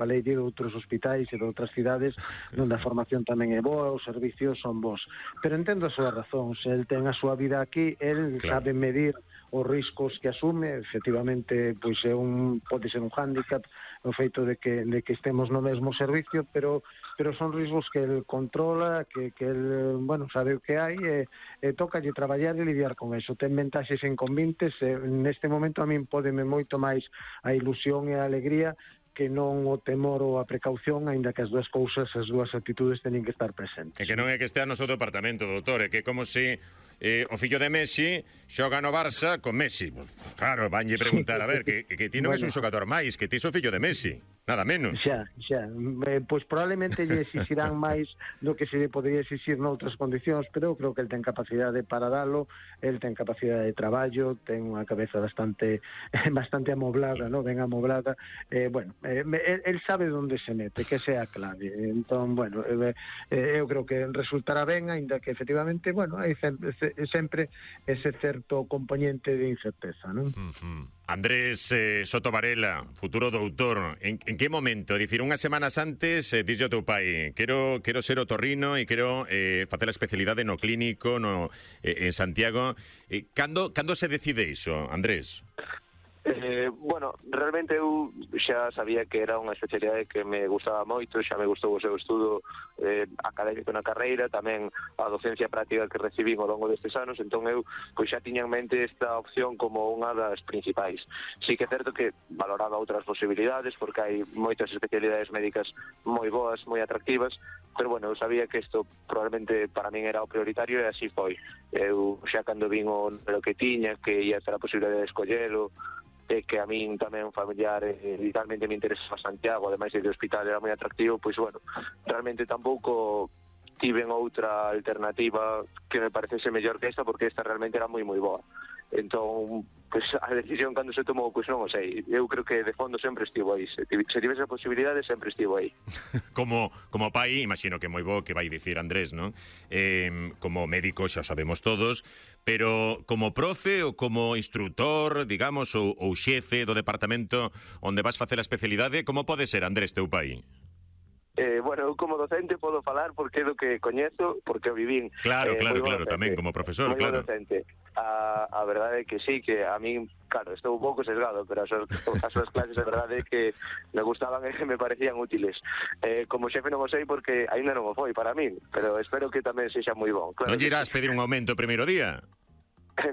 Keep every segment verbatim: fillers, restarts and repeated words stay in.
falei de outros hospitais e de outras cidades onde a formación tamén é boa, os servicios son bons. Pero entendo a súa razón, se el ten a súa vida aquí, el claro. sabe medir os riscos que asume, efectivamente, pois é un, pode ser un hándicap o feito de que, de que estemos no mesmo servicio, pero pero son riscos que el controla, que, que el, bueno, sabe o que hai, e, e toca lle traballar e lidiar con eso. Ten ventaxes e inconvenientes, e neste momento a min pódeme moito máis a ilusión e a alegría que non o temor ou a precaución, aínda que as dúas cousas, as dúas actitudes teñen que estar presentes. É que non é que estea no seu departamento, doutor, é que como se eh, o fillo de Messi xoga no Barça con Messi. Pues, claro, vanlle preguntar, a ver, que, que ti non bueno. és un xogador máis, que ti é o fillo de Messi. Nada menos. Xa, xa. Eh, pois probablemente lle exixirán máis do que se lle podría exixir noutras condicións, pero eu creo que el ten capacidade para dalo, el ten capacidade de traballo, ten unha cabeza bastante bastante amoblada, no? Ben amoblada. Eh, bueno, eh, el, el sabe onde se mete, que sea a clave. Entón, bueno, eh, eh, eu creo que resultará ben, aínda que efectivamente, bueno, hai sempre, sempre ese certo componente de incerteza, non? Uh-huh. Andrés eh, Soto Varela, futuro doutor, en, en que momento? Dicir, unhas semanas antes, eh, dixo teu pai, quero, quero ser otorrino e quero eh, facer a especialidade no clínico no, eh, en Santiago. Eh, cando, cando se decide iso, Andrés? Eh, bueno, realmente eu xa sabía que era unha especialidade que me gustaba moito, xa me gustou o seu estudo eh, académico na carreira, tamén a docencia práctica que recibín ao longo destes anos, entón eu pois xa tiña en mente esta opción como unha das principais. Sí que é certo que valoraba outras posibilidades, porque hai moitas especialidades médicas moi boas, moi atractivas, pero bueno, eu sabía que isto probablemente para min era o prioritario e así foi. Eu xa cando vin o número que tiña, que ia ter a posibilidade de escollelo, e que a min tamén familiar e vitalmente me interesa Santiago, ademais de hospital era moi atractivo, pois bueno, realmente tampouco tiven outra alternativa que me parecese mellor que esta, porque esta realmente era moi moi boa. Entón, pois a decisión cando se tomou, pois non o sei. Eu creo que de fondo sempre estivo aí. Se, se tivese a posibilidade, sempre estivo aí. como, como pai, imagino que moi bo que vai dicir Andrés, non? Eh, como médico xa sabemos todos, pero como profe ou como instructor, digamos, ou, ou xefe do departamento onde vas facer a especialidade, como pode ser, Andrés, teu pai? Eh, bueno, eu como docente podo falar porque é do que coñezo, porque o vivín. Claro, eh, claro, claro, docente, tamén como profesor, claro. Docente. A, a verdade é que sí, que a min, claro, estou un pouco sesgado, pero as, as súas clases a verdade é que me gustaban e me parecían útiles. Eh, como xefe non o sei porque aínda non o foi para min, pero espero que tamén sexa moi bon. Claro, non irás pedir un aumento o primeiro día?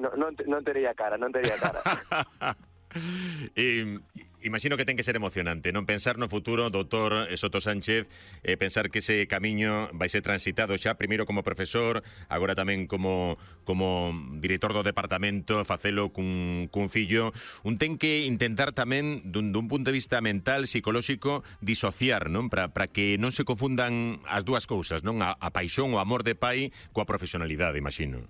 non, non, non tería cara, non tería cara. E, imagino que ten que ser emocionante, non pensar no futuro, doutor Soto Sánchez, eh, pensar que ese camiño vai ser transitado xa, primeiro como profesor, agora tamén como como director do departamento, facelo cun, cun fillo. Un ten que intentar tamén, dun, dun punto de vista mental, psicolóxico, disociar, non? Para para que non se confundan as dúas cousas, non? A, a paixón, o amor de pai coa profesionalidade, imagino.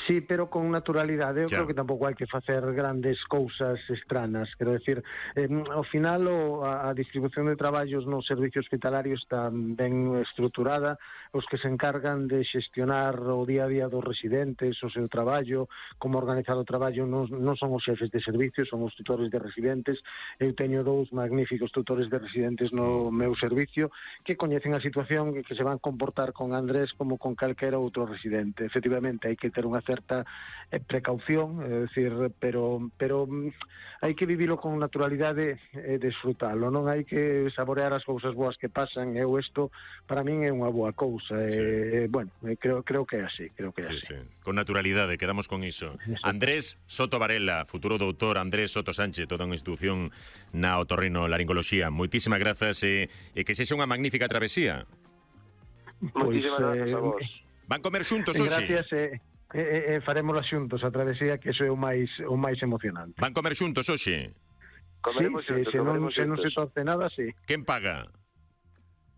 Sí, pero con naturalidade. Eu ya. creo que tampouco hai que facer grandes cousas estranas. Quero decir, eh, ao final o, a, a distribución de traballos no servicio hospitalario está ben estruturada. Os que se encargan de xestionar o día a día dos residentes, o seu traballo, como organizar o traballo, non, non son os xefes de servicio, son os tutores de residentes. Eu teño dous magníficos tutores de residentes no meu servicio que coñecen a situación e que se van comportar con Andrés como con calquera outro residente. Efectivamente, hai que ter unha certa eh, precaución, é dicir, pero pero hai que vivilo con naturalidade e disfrutalo, non hai que saborear as cousas boas que pasan. Eu isto para min é unha boa cousa, sí. E, bueno, creo creo que é así, creo que é sí, así. Sí. Con naturalidade, quedamos con iso. Exacto. Andrés Soto Varela, futuro doutor Andrés Soto Sánchez, toda unha institución na otorrinolaringoloxía. Moitísimas grazas e, e que sexa unha magnífica travesía. Moitísimas pues, grazas a vos. Van comer xuntos hoxe? Gracias, eh. E, e, e farémola xuntos a travesía, que iso é o máis o máis emocionante. Van comer xuntos hoxe? Comeremos sí, xuntos, se, comeremos non, se non se torce nada, sí. Quen paga?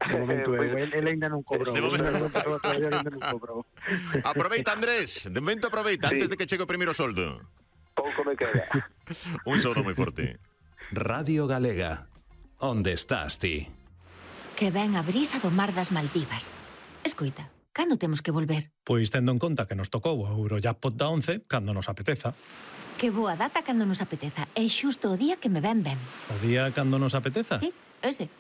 De momento eu, Pues, el, el ainda non cobrou. De momento ainda non cobrou. Aproveita, Andrés, de momento aproveita, sí. Antes de que chegue o primeiro soldo. Pouco me queda. Un saúdo moi forte. Radio Galega, onde estás ti? Que ven a brisa do mar das Maldivas. Escoita, cando temos que volver? Pois tendo en conta que nos tocou o Eurojackpot da once, cando nos apeteza. Que boa data cando nos apeteza. É xusto o día que me ven ben. O día cando nos apeteza? Sí. ese.